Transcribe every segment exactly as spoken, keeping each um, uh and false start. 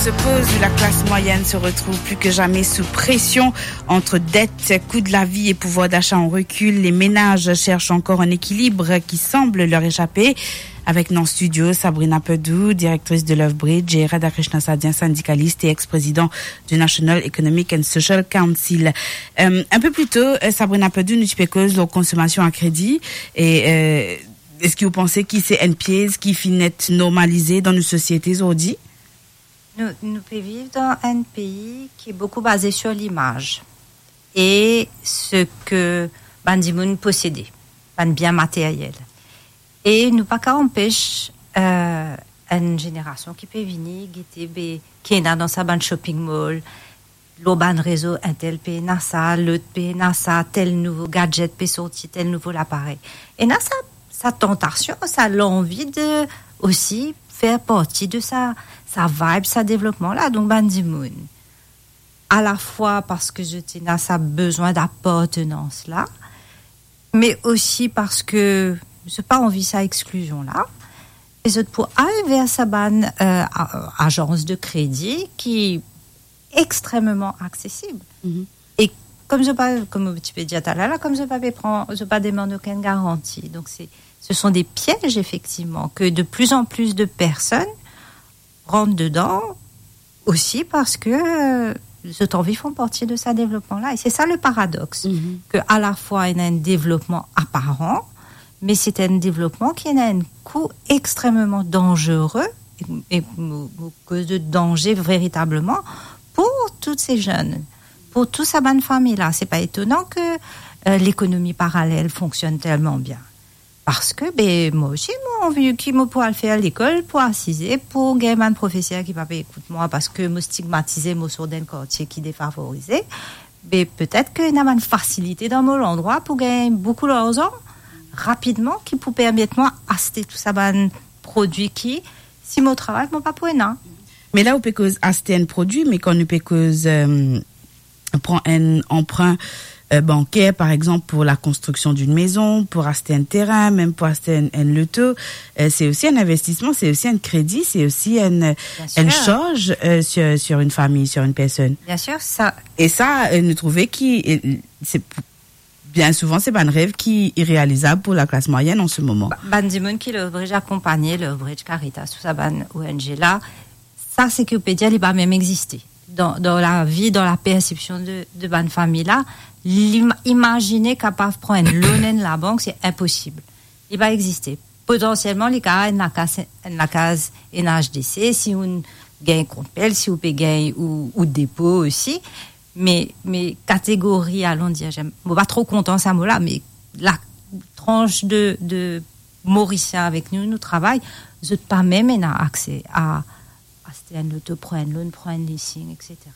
Suppose où la classe moyenne se retrouve plus que jamais sous pression entre dette, coût de la vie et pouvoir d'achat en recul. Les ménages cherchent encore un équilibre qui semble leur échapper. Avec nous en studio, Sabrina Pedou, directrice de Love Bridge, et Radhakrishna Sadhya, syndicaliste et ex-président du National Economic and Social Council. Euh, un peu plus tôt, euh, Sabrina Pedou, nou ti pe koz lor konsomasion a kredi, e, euh, eski ou panse ki se enn piez ki finn et normalize dan nou sosiete zordi? Nou, nou pe viv dan enn pei ki boukou baze sur limaz e seki bann dimoun posede, bann bien materyel. E nou pa kav anpes, euh, enn zenerasion ki pe vini, gete be ki ena dan sa bann shopping mall, lor bann rezo, entel pe ena sa, lot pe ena sa, tel nouvo gadget pe sorti, tel nouvo laparey. Ena sa, sa tantasion, sa lanvi de osi fer parti de sa, sa vibe, sa devlopman la. Donk bann dimoun, alafwa parski zot ena sa bezwin dapartenans la, me osi parski zot pa anvi sa exklizion la, e zot pou al ver sa bann, euh, a-, azans de kredi ki extrememan aksesib. Mhm. E kom zot pa, kom ti pe dir taler la, kom zot pa pe pran, zot pa demann okenn garanti. Donk se, ce sont des pièges, effectivement, que de plus en plus de personnes rant dedan, osi parski, euh, zot anvi fer parti de sa devlopman la. E se sa le paradoks, mhm, ke alafwa ena enn devlopman aparan, me se enn devlopman ki ena enn kou extrememan danzere, e, e mo, mo koz de danze veritableman pou tou se zenn, pou tou sa bann fami la. Se pa etonan ke, euh, lekonomi paralel fonksionn telman bien. Parski, be, mwa osi, mo anvi ki mo pou al fer lekol, pou asize, pou gagn bann profeser ki pa pe ekout mwa, parski mo stigmatize, mo sort dan enn kartie ki defavorize. Be, petet ki ena bann fasilite dan mo landrwa pou gagn boukou larzan rapidman, ki pou permet mwa aste tou sa bann prodwi ki, si mo travay, mo pa pou ena. Me la, ou pe koz aste enn prodwi, me kan nou pe koz, euh, pran enn anprin, euh, banker, par exemple, pour la construction d'une maison, pour acheter un terrain, même pour acheter un, un loto, euh, c'est aussi un investissement, c'est aussi un crédit, c'est aussi une, bien sûr, une charge, euh, sur, sur une famille, sur une personne. Bien sûr, sa. E sa, euh, nou trouve ki, euh, se, bien souvan, se bann rev ki irealizab pou la klas mwayenn an se moman. Ba-, bann dimoun ki Love Bridge akonpagne, Love Bridge, Caritas, tou sa bann O N G la, sa, seki ou pe dir, li pa mem existe. Dan, dan lavi, dan la persepsion de, de bann fami la, lim-, imazine kapav pran enn loan enn labank, se inposib. Li pa existe. Potansielman, li kapav enn lakaz, enn lakaz enn H D C, si ou gagn kont PEL, si ou pe gagn ou, ou depo osi. Me, me kategori, alon dir, zem, mo pa tro kontan sa mo la, me la tranche de, de Morisien avek nou, nou travay, zot pa mem ena akse a aste enn loto, pran enn loan, pran enn leasing, et cetera.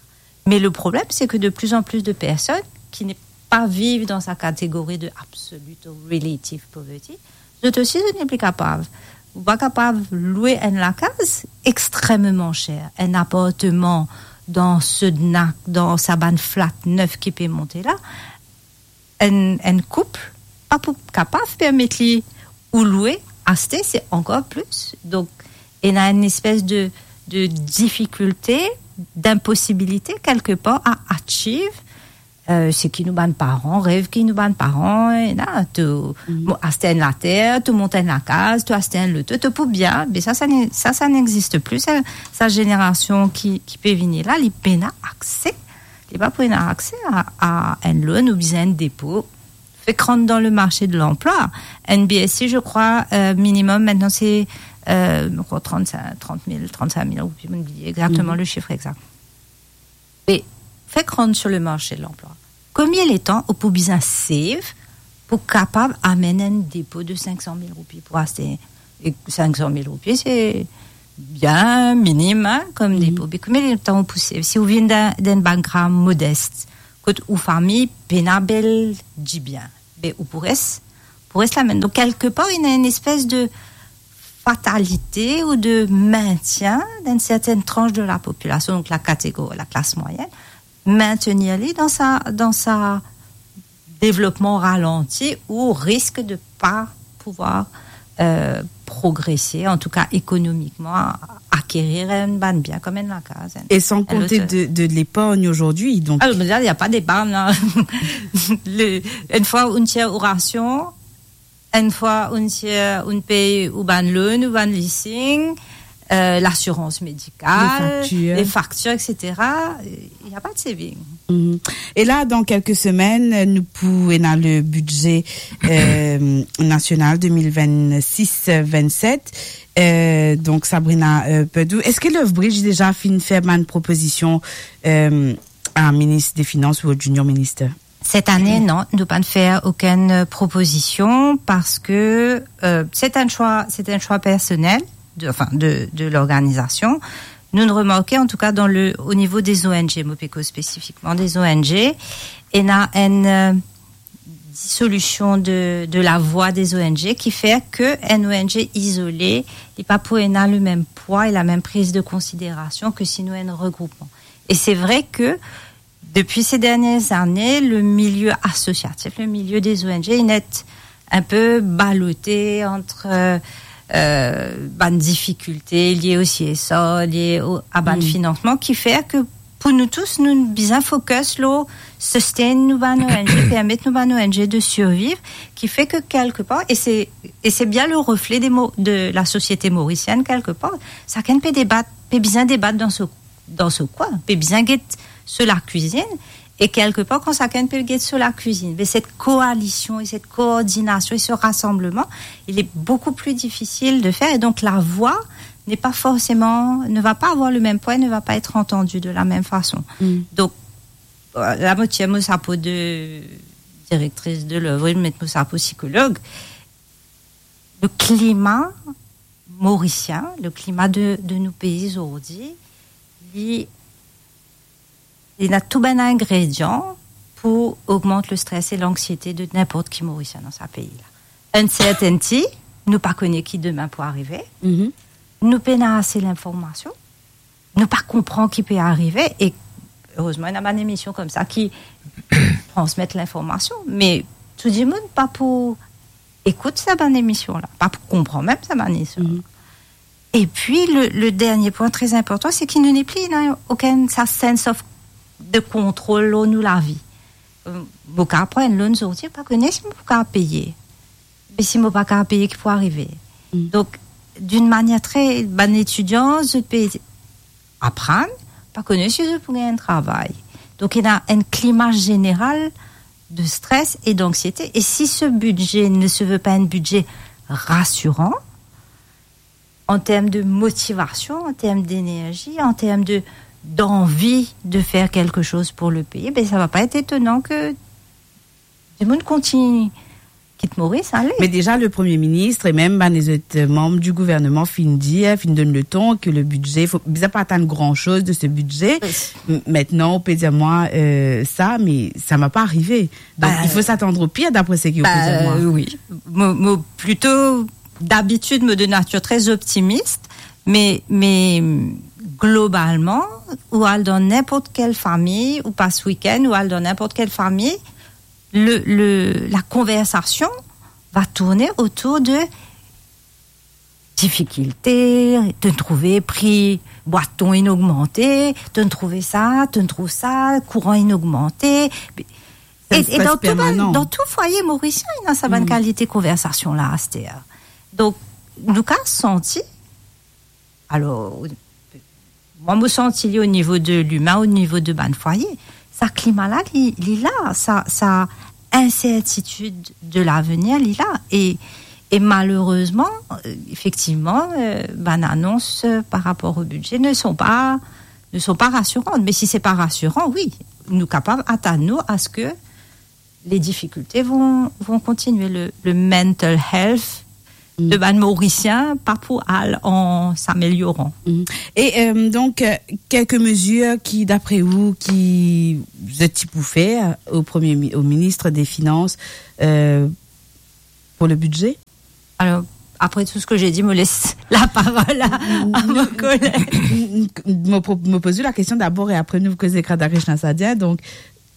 Me le problem, se ke de plus en plus de personnes qui n'est pas vivent dans sa catégorie de absolute ou relative poverty, zot osi, zot nepli kapav. Ou pa kapav lwe enn lakaz extrememan ser, enn apartman dan Sednak, dan sa bann flat nef ki pe monte la, enn, enn koup pa pou kapav permet li ou lwe, aste, se ankor plis. Donk, ena enn espes de, de difikilte, d'inposibilite, kelkepar, a achieve, euh, seki nou bann paran rev, ki nou bann paran, ena, to, mhm, mo-, aste enn later, to mont enn lakaz, to aste enn loto, to pou bien, me sa, sa ne, sa, sa n'existe plus. Sa, sa zenerasion ki, ki pe vini la, li pena akse, li pa pou ena akse a, a enn loan oubien enn depo. Fek rant dan le marché de l'emploi. N B S C, je crois, euh, minimum, maintenant, c'est, euh, je crois, trente-cinq, trente mille, trente-cinq mille roupies, mo bliye exactement, mhm, le chiffre exact. Me fek rant sur le marché de l'emploi. Konbien letan ou pou bizin save pou kapav amenn enn depo de cinq cent mille roupies pou aste? E cinq cent mille roupies, se bien minim, hein, kom, mhm, depo. Me konbien letan ou pou save? Si ou vinn dan, dan enn background modest, kot ou fami pena bel dibien, be ou pou res, pou res lamem. Donk, kelkepar, ena enn espes de fatalite ou de maintien dan enn sertenn tranche de la populasion, donk la kategori, la klas mwayenn, maintenir li dan sa, dan sa devlopman ralanti ou risk de pa pouvoir, euh, progrese, an tou ka ekonomikman, akerir enn bann bien kom enn lakaz, enn, E sans enn compter lot, de, de l'épargne aujourd'hui, donc. Ah, mais là, il n'y a pas d'épargne, hein. Le, une fois, on tire au ration, une fois, on tire, on paye ou bann loan, ou bann leasing, euh, l'assurance médicale, Les factures. les factures, et cetera. Il n'y a pas de saving. Mhm. E la, dan kelke semenn, nou pou ena le bidze, euh, nasional deux mille vingt-six vingt-sept. Euh, donk, Sabrina, euh, Pedou, eski Lethbridge deza finn fer bann propozision, euh, a minis de finans ou a Junior Minister? Cette année, non, nou pa finn fer okenn, euh, propozision parce que, euh, c'est un choix, c'est un choix personnel de, enfin, de, de l'organisation. Nou remark, an tou ka, dan le, o nivo de ONG, mo pe koz spesifikman de ONG, ena enn, euh, dissolution de, de la voix des ONG ki fer ke enn ONG izole, li pa pou ena le mem pwa e la mem priz de konsiderasion ke si nou enn regroupman. E c'est vrai que depuis ces dernières années, le milieu associatif, le milieu des ONG, il est un peu ballotté entre, euh, euh, bann difikilte lie o CSR, lie o, a bann finansman, ki fer ke pou nou tous, nou bizin focus lor sustain nou bann ONG, permet nou bann ONG de surviv, ki fer ke kelke par, et c'est, et c'est bien le reflet des mo-, de la société mauricienne, kelke par, sakenn pe debat, pe bizin debat dan so, dan so kwin, pe bizin get so lakwizinn, e kelke par, kan sakenn pe get so lakwizinn, be cette coalition et cette coordination et ce rassemblement, il est beaucoup plus difficile de faire, et donc la voix n'est pas forcément, ne va pas avoir le même poids, ne va pas être entendue de la même façon. Mm. Donc, euh, la mo tir mo sapo de directrice de l'œuvre, met mo sapo sikolog. Le climat mauricien, le climat de, de nou pei zordi, li, li ena tou bann ingredian pou ogmant le stress e lanksiete de ninport ki Morisien dan sa pei la. Uncertainty, nou pa kone ki demin pou arive. Mhm. Nou pena ase linformasion. Nou pa konpran ki pe arive e, erezman, ena bann emision koumsa ki transmet linformasion, me tou dimoun pa pou ekout sa bann emision la, pa pou konpran mem sa bann emision la. Mhm. E pi, le, le dernie pwin tre inportan, se ki nou nepli ena okenn sa sense of, de kontrol lor nou lavi. Euh, mo kapav pran enn loan zordi, pa kone si mo pou kapav peye. Me si mo pa kapav peye, ki pou arive? Mm. Donk, d'une manière très, bann etidian, zot pe aprann, pa kone si zot pou gagn enn travay. Donk, ena enn klima zeneral de stress et d'anxiété. Et si ce budget ne se veut pas un budget rassurant, en termes de motivation, en termes d'énergie, en termes de, d'envie de faire quelque chose pour le pays, ben, ça va pas être étonnant que dimoun kontign kit Moris, ale. Me deza, le Premie Minis e mem bann lezot manm di gouvernman finn dir, finn donn le ton ke le bidze, fo, bizin pa atann gran soz de se bidze. Wi. M-, mintnan, ou pe dir mwa, euh, sa, me sa va pa arive. Donk, il faut s'attendre au pire, d'après ce que ou pe dir mwa. Ba, wi. Mo, mo plito, dabitid, mo de natir tre optimis, me, me globalman, ou al dan ninport kel fami, ou pas wikenn, ou al dan ninport kel fami, le, le, la konversasion va tourne otour de difikilte, to'nn trouve pri bwat ton inn ogmante, to'nn trouve sa, to'nn trouv sa, kouran inn ogmante. E, e dan tou bann, dan tou fwaye morisien, ena sa bann kalite konversasion la, aster. Donk, nou kapav santi, alor, mwa, mo santi li o nivo de limin, o nivo de bann fwaye. Sa klima la, li, li la, sa, sa insertitid de lavenir, li la. E, e malerezman, euh, efektivman, euh, bann anons, euh, par rapor o bidze ne sont pas, ne sont pas rassurantes. Me si se pa rasiran, wi, nou kapav atann nou a se ke les difficultés vont, vont continuer. Le, le mental health de bann Morisien pa pou al an s'amelioran. Mm. E, euh, donk, euh, kelke mezir ki, dapre ou, ki zot ti pou fer o premie mi-, o minis de finans, euh, pou le bidze? Alors, après tout ce que j'ai dit, mo les la parol a, a mo koleg. Mo pro-, mo poz ou la kestion dabor e apre nou koz ek Radhakrishnan Sadhya. Donk,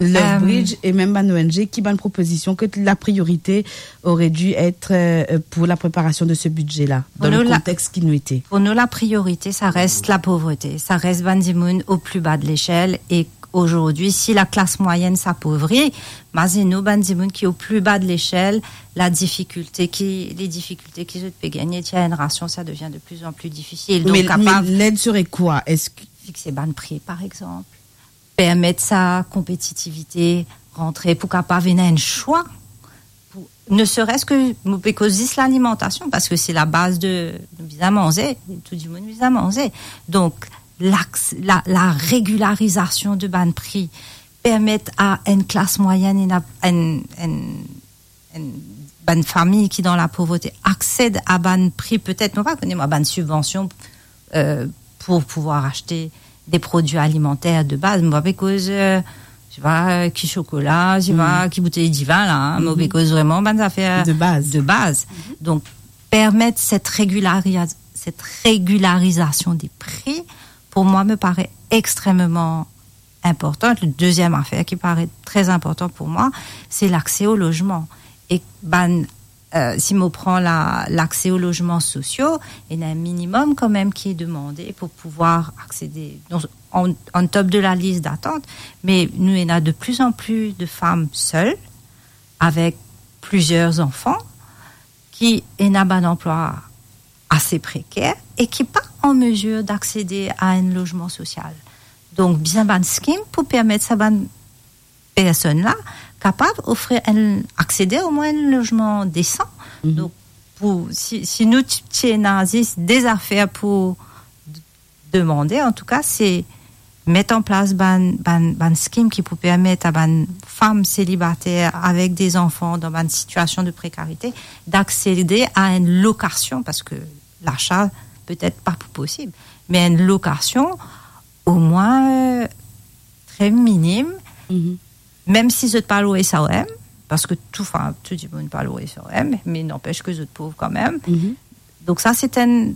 Lethbridge e mem bann O N G, ki bann propozision ke la priorité aurait dû être, euh, pour la préparation de ce budget-là, dans le contexte qui nous était? Pour nous, la priorité, ça reste la pauvreté, ça reste bann dimoun au plus bas de l'échelle. Et aujourd'hui, si la classe moyenne s'appauvrit, mazinn nou bann dimoun ki au plus bas de l'échelle, la difficulté ki, les difficultés ki zot pe gagne, ti enn rasion, ça devient de plus en plus difficile. Donc, mais, mais l'aide serait quoi? Est-ce que fixe bann pri, par exemple, permet sa konpetitivite rantre pou kapav ena enn swa, pou, ne serait-ce que, mo pe koz zis lalimantasion, parski se la baz de, nou bizin manze, tou dimoun bizin manze. Donk, lax-, la, la régularizasion de bann pri permet a enn klas mwayenn, ena, enn, enn enn, bann fami ki dan lapovrete aksed a bann pri, petet, mo pa kone, mwa, bann sibvansion, euh, pou pouvwar aste de prodwi alimanter de baz. Mo pa pe koz, euh, je sais pas, euh, ki sokola, je sais pas, ki boutey divin la, hein. Mo pe koz vreman bann zafer de baz. De baz. Donk, permet set regilariz-, set regilarizasion de pri, pou mwa, me paret extrememan inportan. Le deziem afer ki paret tre inportan pou mwa, se lakse o lozman. E bann, euh, si mo pran la, lakse o lozman sosio, ena enn minimum kanmem ki demande pou pouvwar aksede. Donk, on, on top de la lis datant, me nou ena de plus en plus de fam sel, avek plizier zanfan, ki ena bann anplwa ase preker e ki pa an mezir d'aksede a enn lozman sosial. Donk, bizin bann skim pou permet sa bann personn la kapav ofrir enn, aksede omwin enn lozman desan. Donk, pou, si, si nou ti, ti ena zis de zafer pou demande, antouka, se met an plas bann, bann, bann skim ki pou permet a bann fam selibater avek de zanfan dan bann sitiasion de prekarite d'aksede a enn lokasion, parski lasa petet pa pou posib, me enn lokasion omwin, euh, tre minim, mem si zot pa lor S R M, parski tou, anfin, tou dimoun pa lor S R M, me nanpes ke zot pov kanmem. Donk sa, se enn,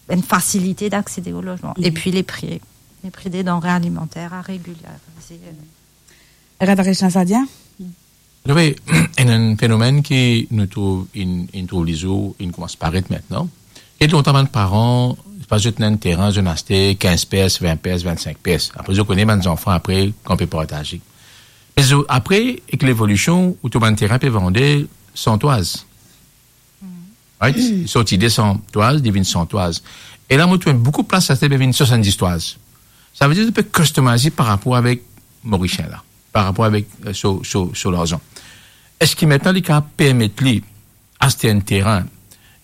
enn fasilite d'aksede o lozman. Epi le pri, le pri de danre alimanter a regilarize. Rad Rechna Sadia? Wi, enn, enn fenomenn ki nou trouv, inn, inn trouv lezour, inn koumans paret aster. Get lontan bann paran, pa zot ena enn terin, zot inn aste kinz pers, vin pers, vinn-sink pers. Apre, zot kone bann zanfan apre, kan pe partaze. Me zot, apre, ek levolision, ou trouv bann terin pe vande san toaz. Right? Sorti de san toaz, li vinn san toaz. E la, mo trouv boukou plas, sa pe vinn swasanndis toaz. Savedir, ou pe customize par rapor avek Morisien la, par rapor avek, euh, so, so, so larzan. Eski aster li kapav permet li aste enn terin?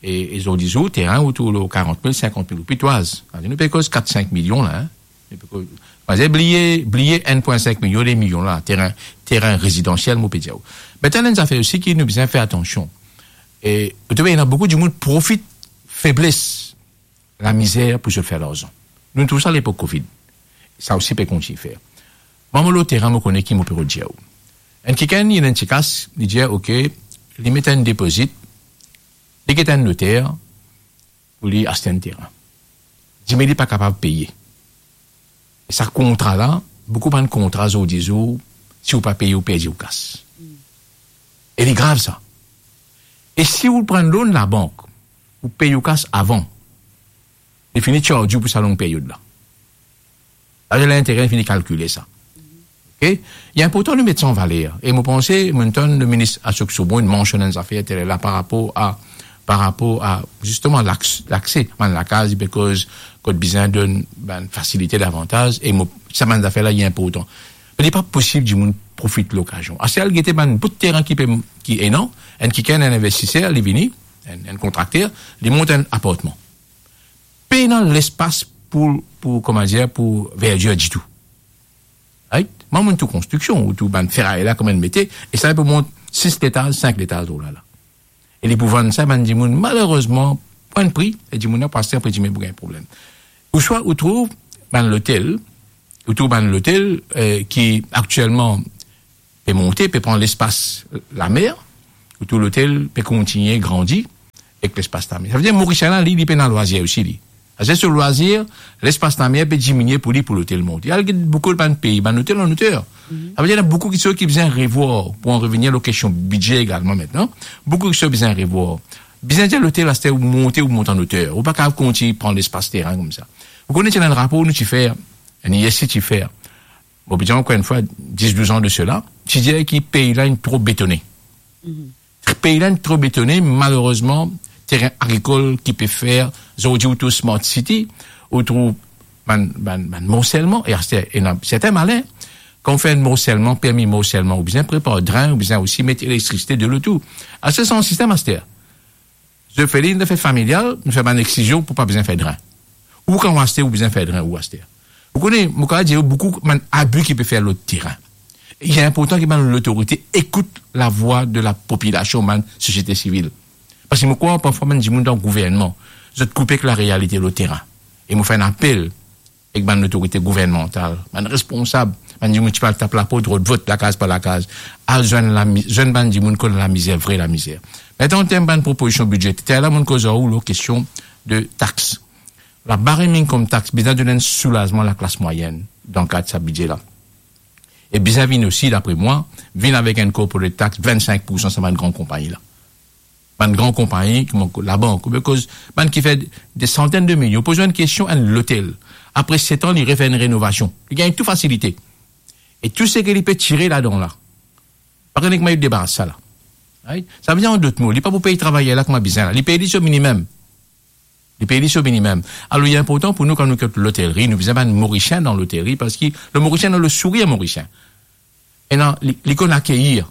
E, e zordi zour, terin, ou trouv lor karant mil, sinkant mil roupi toaz. Nou pe koz kat, sink milion la, hein? Nou pe koz, pa bliye, bliye enn pwin sink milion, de milion la, terin, terin rezidansiel, mo pe dir ou. Me ena enn zafer osi ki nou bizin fer atansion. E, ou trouv, ena boukou dimoun profit febles, lamizer pou zot fer larzan. Nou trouv sa lepok Covid. Sa osi pe kontign fer. Mwa, mo lor terin, mo kone ki mo pe rod dir ou. Enn kikenn, li ena enn ti kas, li dir, ok, li met enn depozit, li get enn noter, pou li aste enn terin. Dime li pa kapav peye. E sa kontra la, boukou bann kontra zordi zour, si ou pa peye, ou perdi ou kas. E li grav sa. E si ou pran loan labank, ou pey ou kas avan, li fini charge ou pou sa long peryod la. Avek lintere, li fini kalkile sa. Ok? Li inportan nou met sa an valer. E mo panse, mo tann leminis Ashok Soubhon, li mansionn enn zafer taler la par rapor a, par rapor a, zisteman, laks-, lakse, bann lakaz, because kot bizin donn bann fasilite davantaz, e mo, sa bann zafer la, li inportan. Me li pa posib dimoun profit lokazion. Aster al gete bann bout terin ki pe, ki ena, enn kikenn, enn investiser, li vini, enn, enn kontrakter, li mont enn apartman. Pena lespas pou, pou, kouma dir, pou verdir ditou. Right? Mwa, mo tou konstriksion, ou tou bann feray la, kouma li mete, e sa pou mont sis letaz, sink letaz, oh la la. E li pou vann sa bann dimoun, malerezman, pran pri, e dimoun la pou aste, apre dimoun pou gagn problem. Ouswa ou trouv bann lotel, ou trouv bann lotel, eh, ki aktielman pe monte, pe pran lespas lamer, ou trouv lotel pe kontigne grandi ek lespas lamer. Savedir Morisien la, li, li pena lwazier osi, li. Aster so lwazier, lespas lamer pe diminie pou li, pou lotel monte. Al get boukou bann pei, bann lotel an loter. Savedir, ena boukou kiksoz ki bizin revwar, pou an revenir lor kestion bidze egalman aster. Boukou kiksoz bizin revwar. Bizin dir lotel aster ou monte, ou mont an oter. Ou pa kapav kontign pran lespas terin koumsa. Ou kone, ti ena enn rapor nou ti fer, enn I S I ti fer. Mo pe dir ankor enn fwa, dis, douz an de sela, ti dir ki pei la inn tro betone. Pei la inn tro betone, malerezman, terin agrikol ki pe fer, zordi ou trouv smart city, ou trouv bann, bann, bann morselman, e aster, ena sertin malin, kan ou fer enn morselman, permi morselman, ou bizin prepar dren, ou bizin osi met elektrisite, delo, tou. Aster, se enn sistem aster. Zot fer li dan fet familial, nou fer bann eksizion pou pa bizin fer dren. Ou kan ou aster, ou bizin fer dren, ou aster. Ou kone, mo kapav dir ou boukou bann abi ki pe fer lor terin. Li inportan ki bann lotorite ekout lavwa de lapopilasion, bann sosiete sivil. Parski mo krwar parfwa bann dimoun dan gouvernman, zot koupe ek larealite lor terin. E mo fer enn apel ek bann lotorite gouvernmantal, bann responsab, bann dimoun ki pe al tap laport, rod vot lakaz par lakaz, al zwenn lami-, zwenn bann dimoun kot lamizer, vre lamizer. Aster, an term bann propozision bidzeter, la, mo'nn koz ar ou lor kestion de tax. Labar minimum tax bizin donn enn soulazman laklas mwayenn dan kad sa bidze la. E bizin vinn osi, dapre mwa, vinn avek enn corporate tax vinn-sink poursan sa bann gran konpagni la. Bann gran konpagni, kouma labank, kouma koz, bann ki fer de santenn de milion. Poz enn kestion, enn lotel, apre set an, li refer enn renovasion. Li gagn tou fasilite. E tou seki li pe tire ladan la, pa kone kouma li debaras sa la. Right? Savedir, an dot mo, li pa pou pey travayer la kouma bizin la. Li pey li so minimem. Li pey li so minimem. Alor, li inportan pou nou, kan nou kot lotelri, nou bizin bann Morisien dan lotelri, parski le Morisien ena le sourir morisien. Ena, li, li konn akeir.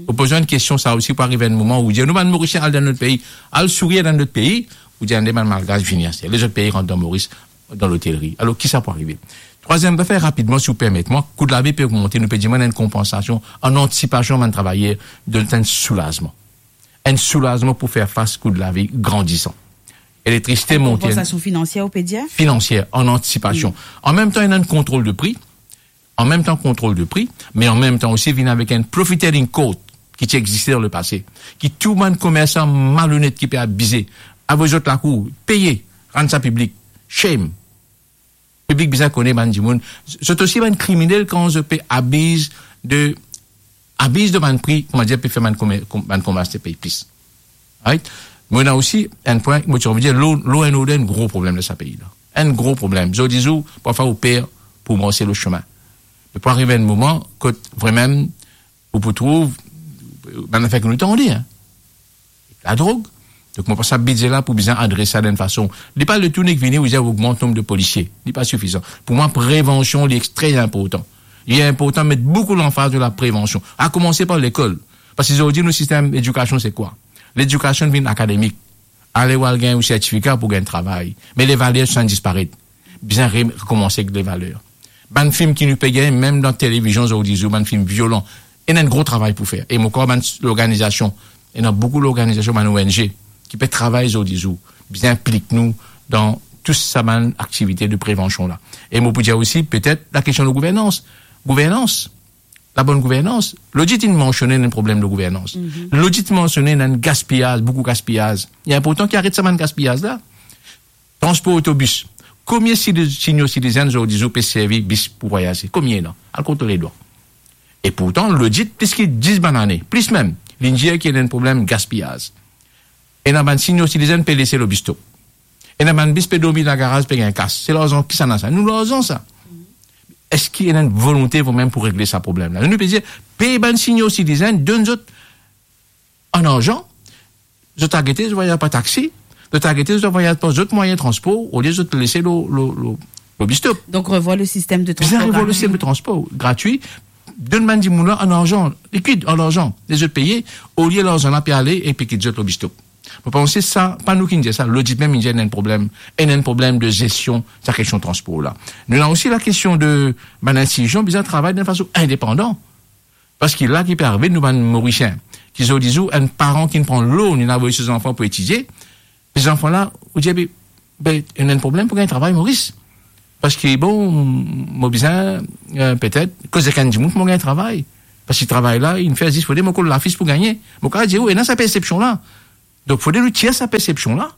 Ou poz enn kestion sa osi, pou arive enn moman ou dir, nou bann Morisien al dan lot pei, al sourir dan lot pei, ou dir, ande bann Malgas vini aster. Lezot pei rant dan Moris, dan lotelri. Alor, ki sa pou arive? Trwaziem zafer, rapidman, si ou permet mwa, kou lavi pe ogmante, nou pe dimann enn konpansasion, an antisipasion, bann travayer, donn enn soulazman. Enn soulazman pou fer fas kou lavi grandisan. Elektrisite monte. Enn konpansasion finansier, ou pe dir? Finansier, an antisipasion. An mem tan, ena enn kontrol de pri. An mem tan, kontrol de pri, me an mem tan osi vinn avek enn profit sharing code ki ti existe dan lepase, ki tou bann komersan malonet ki pe abize, avoy zot lakour, peye, rann sa piblik. Shame. Piblik bizin kone bann dimoun, zot osi bann kriminel kan zot pe abiz de, abiz de bann pri, kouma dir, pe fer bann komer-, kom-, bann komersan pey plis. Right? Mo ena osi enn pwin, mo ti anvi dir, law, law and order enn gro problem dan sa pei la. Enn gro problem. Zordi zour, parfwa ou per pou marse lor sime. Me pou arive enn moman kot vremem ou pou trouv bann zafer ki nou tande, hein. Ladrog. Donk, mo pans sa bidze la pou bizin adres sa dan enn fason. Li pa le tou nek vini, ou dir, ogmant nonb de polisie. Li pa sifizan. Pou mwa, prevansion, li extre inportan. Li inportan met boukou lanfaz dan laprevansion. A koumanse par lekol. Parski zordi, nou sistem edikasion, se kwa? Ledikasion vinn akademik. Ale ou al gagn ou sertifika pou gagn travay. Me levaler, sa disparet. Bizin re-, rekoumanse ek levaler. Bann fim ki nou pe gagn, mem dan televizion zordi zour, bann fim violan, ena enn gro travay pou fer. E mo krwar bann s-, lorganizasion, ena boukou lorganizasion, bann O N G, ki pe travay zordi zour. Bizin inplik nou dan tou sa bann aktivite de prevansion la. E mo pou dir osi, petet, lakestion de gouvernans. Gouvernans. Labonn gouvernans. Lodit inn mansione enn problem de gouvernans. Lodit mansione enn gaspiyaz, boukou gaspiyaz. Li inportan ki aret sa bann gaspiyaz la. Transpor otobis. Komie si-, senior citizen zordi zour pe servi bis pou vwayaze? Komie ena? Al kont lor ledwa. E pourtan, lodit plis ki dis bann ane, plis mem, linn dir ki ena enn problem gaspiyaz. Ena bann senior citizen pe lese lor bis stop. Ena bann bis pe dormi dan garaz, pe gagn kas. Se larzan kisannla sa? Nou larzan sa. Eski ena enn volonte vremem pou regle sa problem la? Nou pe dir, pey bann senior citizen, donn zot an larzan, zot al gete zot vwayaz par taxi, zot al gete zot vwayaz par zot mwayin transpor, olie zot lese lor, lor, lor, lor bis stop. Donk, revwar le sistem de transpor. Bizin revwar le sistem de transpor gratwi, donn bann dimoun la an larzan, likid, an larzan, les zot peye, olie larzan la pe ale e pe kit zot lor bis stop. Mo panse sa, pa nou ki dir sa, lodit mem inn dir ena enn problem, ena enn problem de zestion sa kestion transpor la. Nou ena osi lakestion de bann institision bizin travay dan enn fason indepandan. Parski la ki pe arive, nou bann Morisien, ki zordi zour, enn paran ki pran loan, li inn avoy so zanfan pou etidie, se zanfan la, ou dir, be, be, ena enn problem pou gagn travay Moris. Parski, bon, mo bizin, eh, petet, koz ek enn dimoun pou mo gagn travay. Parski travay la, inn fer zis pou ede mo kol lafis pou gagne. Mo kapav dir ou, ena sa persepsion la. Donk, fode nou tir sa persepsion la.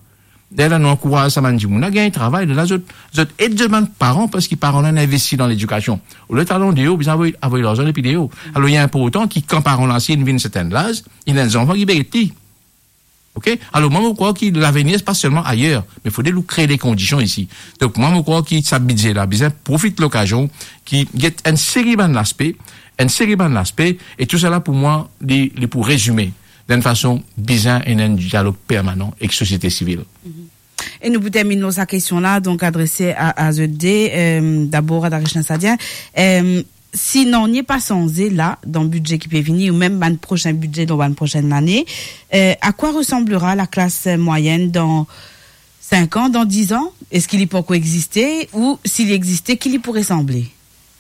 Lerla nou ankouraz sa bann dimoun la gagn travay, lerla zot, zot ed zot bann paran, parski paran la inn investi dan ledikasion. Olie al andeor, bizin avoy, avoy larzan depi deor. Alor, li inportan ki kan paran la si inn vinn sertin laz, ena enn zanfan ki pe get li. Ok? Alor, mwa, mo krwar ki lavenir, se pa selman ayer, me fode nou kree de kondision isi. Donk, mwa, mo krwar ki sa bidze la bizin profit lokazion ki get enn seri bann laspe, enn seri bann laspe, e tousala pou mwa, li, li pou rezime dan enn fason bizin ena enn dialog permanan ek sosiete sivil. E nou pou terminn lor sa kestion la, donk adrese a, a zot de, euh, dabor a Darishna Sadia. Euh, si nanye pa sanze la, dan bidze ki pe vini, ou mem bann prosin bidze dan bann prosenn lane, euh, a kwa resanblera laklas mwayenn dan sink an, dan diz an? Eski li pankor existe? Ou si li existe, ki li pou resanble?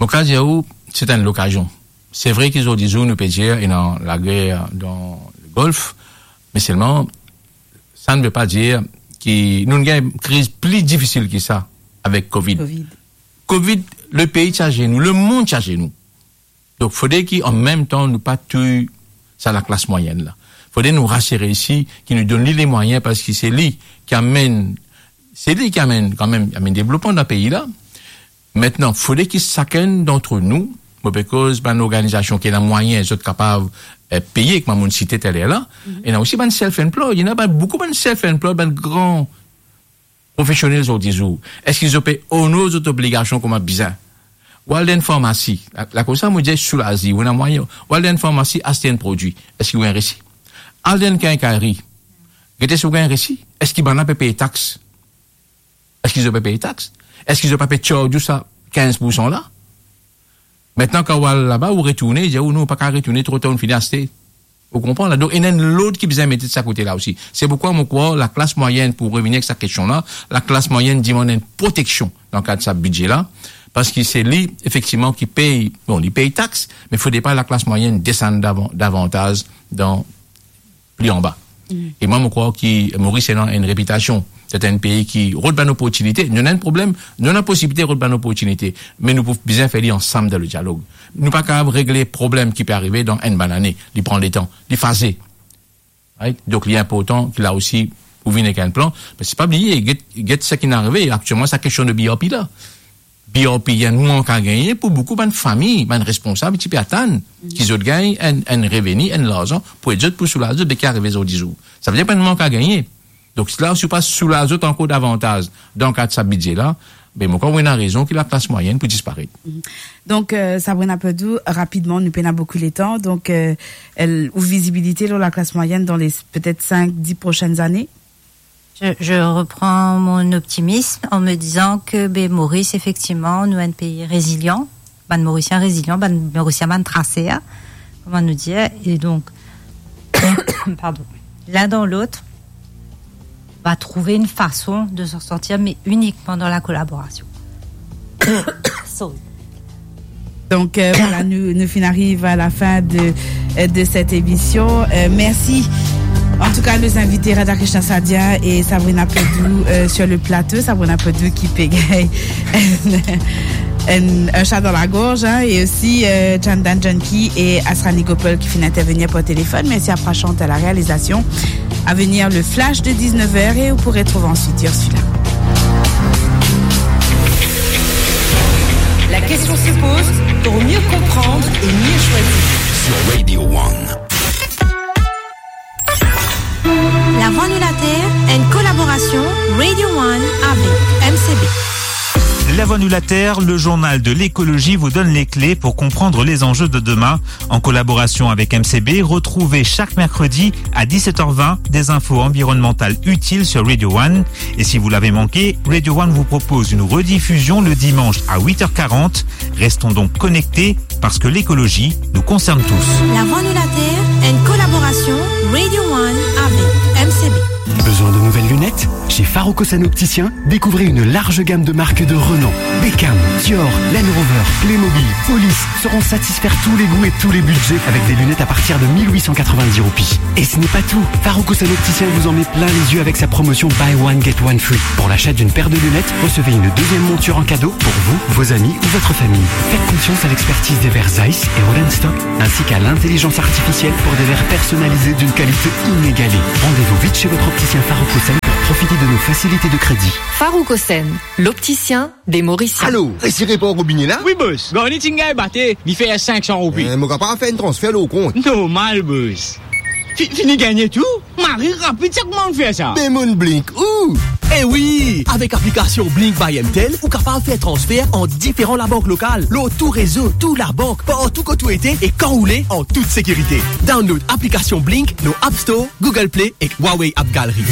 Mo kapav dir ou, se enn lokazion. Se vre ki zordi zour nou pe dir ena lager dan Golf, me selman, sa ne ve pa dir ki nou gagn kriz pli difisil ki sa avek Covid. Covid. Covid, lepei ti azenou, lemonn ti azenou. Donk, fode ki an mem tan, nou pa touy sa laklas mwayenn la. Fode nou rasire isi, ki nou donn li lemwayin, parski se li ki amenn, se li ki amenn, kanmem, amenn devlopman dan pei la. Aster, fode ki sakenn dant nou, mo pe koz bann lorganizasion ki ena mwayin, zot kapav, eh, peye, kouma mo'nn site taler la, ena osi bann self-employed, ena bann, boukou bann self-employed, bann gran profesionel zordi zour. Eski zot pe onor zot obligasion kouma bizin? Ou al dan enn farmasi, la, la koumsa mo dir soulaz li, ou ena mwayin, ou al dan enn farmasi, aste enn prodwi, eski ou gagn resi? Al dan enn kinkari, gete si ou gagn resi, eski bann la pe pey tax? Eski zot pe pey tax? Eski zot pa pe charge ou sa kinz poursan la? Aster, kan ou al laba, ou retourne, dir ou non, ou pa kapav retourne tro tar, ou finn aste. Ou konpran la? Donk, ena enn lord ki bizin mete de sa kote la osi. Se poukwa mo krwar laklas mwayenn, pou revini ek sa kestion la, laklas mwayenn dimann enn proteksion dan kad sa bidze la, parski se li, efektivman, ki pey, bon, li pey tax, me fode pa laklas mwayenn desann davan-, davantaz dan pli anba. E mwa, mo krwar ki Moris ena enn repitasion, se enn pei ki rod bann loportinite. Nou ena enn problem, nou ena posibilite rod bann loportinite, me nou pou bizin fer li ansam dan ledialog. Nou pa kapav regle problem ki pe arive dan enn bann lane. Li pran letan, li faze. Right? Donk, li inportan ki la osi, ou vinn ek enn plan. Me se pa bliye, get, get seki inn arive aktielman, sa kestion de B R P la. B R P, ena mank a gagne pou boukou bann fami, bann responsab, ti pe atann ki zot gagn enn, enn reveni, enn larzan pou ed zot, pou soulaz zot de ki arive zordi zour. Savedir pa ena mank a gagne. Donk, la, si ou pa soulaz zot ankor davantaz dan kad sa bidze la, be, mo krwar ou ena rezon ki laklas mwayenn pou disparet. Donk, euh, Sabrina Pedou, rapidman, nou pena boukou letan. Donk, euh, el, ou vizibilite lor laklas mwayenn dan le, petet sink, dis prosenn lane? Je, je reprends mon optimisme en me disant que, be, Moris, efektivman, nou enn pei rezilian, bann Morisien rezilian, bann Morisien bann traser, kouma nou dir, e donk, pardon, l'un dans l'autre, on va trouver une façon de s'en sortir, mais uniquement dans la collaboration. Sorry. Donk, euh, vwala, nou, nou finn ariv a la fin de, euh, de set emision. Euh, mersi. An tou ka, nou invite Radhakrishnan Sadia e Sabrina Pedou, euh, sur le plateau. Sabrina Pedou ki pe gagn enn, enn, enn sa dan lagorz, hein, e osi, euh, Chandan Janki e Asrani Gopal ki finn intervenir par téléphone. Mersi a Prashant à la réalisation. À venir, le flash de dix-neuf heures et vous pourrez trouver ensuite Ursula. La question se pose pour mieux comprendre et mieux choisir. Sur Radio One. La Voix Nulater, une collaboration Radio One avec M C B. La Voix Nulater, le journal de l'écologie, vous donne les clés pour comprendre les enjeux de demain. En collaboration avec M C B, retrouvez chaque mercredi à dix-sept heures vingt des infos environnementales utiles sur Radio One. Et si vous l'avez manqué, Radio One vous propose une rediffusion le dimanche à huit heures quarante. Restons donc connectés parce que l'écologie nous concerne tous. La Voix Nulater, une collaboration Radio One avec M C B. Besoin de nouvelles lunettes ? Chez Farouk Hossein Opticien, découvrez une large gamme de marques de renom. Beckham, Dior, Land Rover, Playmobil, Police sauront satisfaire tous les goûts et tous les budgets avec des lunettes à partir de mille huit cent quatre-vingt-dix roupies. Et ce n'est pas tout. Farouk Hossein Opticien vous en met plein les yeux avec sa promotion Buy One Get One Free. Pour l'achat d'une paire de lunettes, recevez une deuxième monture en cadeau pour vous, vos amis ou votre famille. Faites confiance à l'expertise des verres Zeiss et Rodenstock, ainsi qu'à l'intelligence artificielle pour des verres personnalisés d'une qualité inégalée. Rendez-vous vite chez votre opticien Farouk Hossein pour Profitez de nos facilités de crédit. Farouk Hossein, l'opticien des Mauriciens. Alo, resi repar robine la? Wi, bos. Garni ti gagn bate, li fer sink san roupi. Eh, mo kapav fer enn transfer lor kont? Normal, bos. Fi-, fini gagne tou? Mari rapid, sa kouma ou fer sa? Be mo'nn Blink ou? Eh wi, avek aplikasion Blink by M T L, ou kapav fer transfer ant diferan labank lokal, lor tou rezo, tou labank, partou kot ou ete e kan ou le, an tout sekirite. Download aplikasion Blink lor App Store, Google Play ek Huawei App Gallery.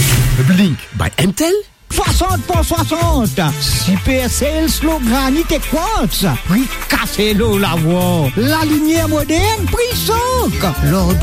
Blink by M T L. Swasant pou swasant, Super Sales lor granit ek quartz, pri kase lor lavwar, lalimier modern, pri sok, lor